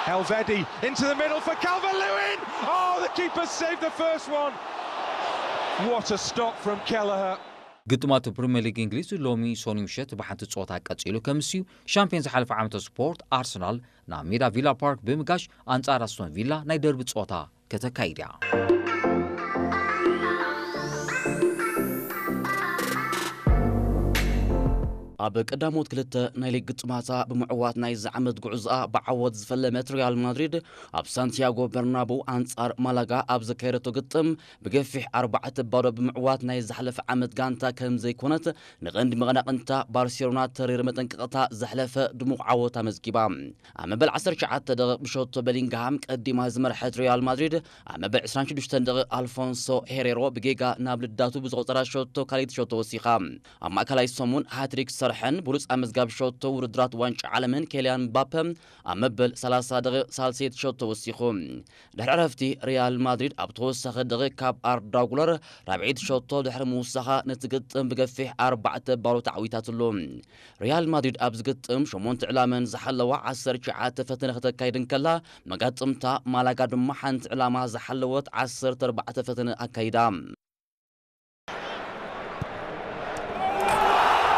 Elvedi into the middle for Calvert-Lewin. Oh, the keeper saved the first one. What a stop from Kelleher. ግጥማት ፕሪምየር ሊግ እንግሊዝ ሎሚ ሰኑይ ምሸት ብሓንቲ ጸወታ ቀጺሉ ከምስዩ። ሻምፒዮን ዝሓለፈ ዓመተ ስፖርት ኣርሰናል ናብ ሜዳ ቪላ ፓርክ ብምጋሽ ኣንጻር ኣስቶን ቪላ ናይ ደርቢ ጸወታ ከተካይድ እያ። ኣብ ቀዳሞት ክልተ ናይ ሊግ ግጥማታ ብምዕዋት ናይዚ ዓመት ጉዕዞኣ ብዓወት ዝፈለመት ሪያል ማድሪድ ኣብ ሳንቲያጎ በርናቡ ኣንጻር ማላጋ ኣብ ዘካየደቶ ግጥም ብገፊሕ ኣርባዕተ ባዶ ብምዕዋት ናይ ዝሓለፈ ዓመት ጋንታ ከም ዘይኮነት ንቐንዲ መቐናቕንታ ባርሴሎና ተሪር መጠንቀቕታ ዘሕለፈ ድሙቕ ዓወት ኣመዝጊባ። ኣብ መበል ዓሰርተ ትሽዓተ ደቂቕ ብሸቶ በሊንግሃም ቀዲማ ዝመርሐት ሪያል ማድሪድ ኣብ መበል ዕስራን ሽዱሽተን ደቂቕ ኣልፎንሶ ሄሬሮ ብጌጋ ናብ ልዳቱ ብዝቆጸራ ሸቶ ካልኣይቲ ሸቶ ወሲኻ። ኣብ ማእከላይ ሰሙን ሃትሪክ ዝሰርሐን ብሉጽ ኣመዝጋቢ ሸቶ ውድድራት ዋንጫ ዓለምን ኬልያን ምባፐ ኣብ መበል ሰላሳ ደቂቕ ሳልሰይቲ ሸቶ ወሲኹ። ድሕሪ ዕረፍቲ ሪያል ማድሪድ ኣብ ተወሳኺ ደቂቕ ካብ ኣርዳ ጉለር ራብዐይቲ ሸቶ ድሕሪ ምውሳኻ ነቲ ግጥም ብገፊሕ ኣርባዕተ ባዶ ተዓዊታትሉ። ሪያል ማድሪድ ኣብዚ ግጥም ሸሞንተ ዕላመን ዝሓለዋ ዓሰርተ ትሽዓተ ፈተነ ከተካይድ እንከላ መጋጥምታ ማላጋ ድማ ሓንቲ ዕላማ ዝሓለወት ዓሰርተ ኣርባዕተ ፈተነ ኣካይዳ።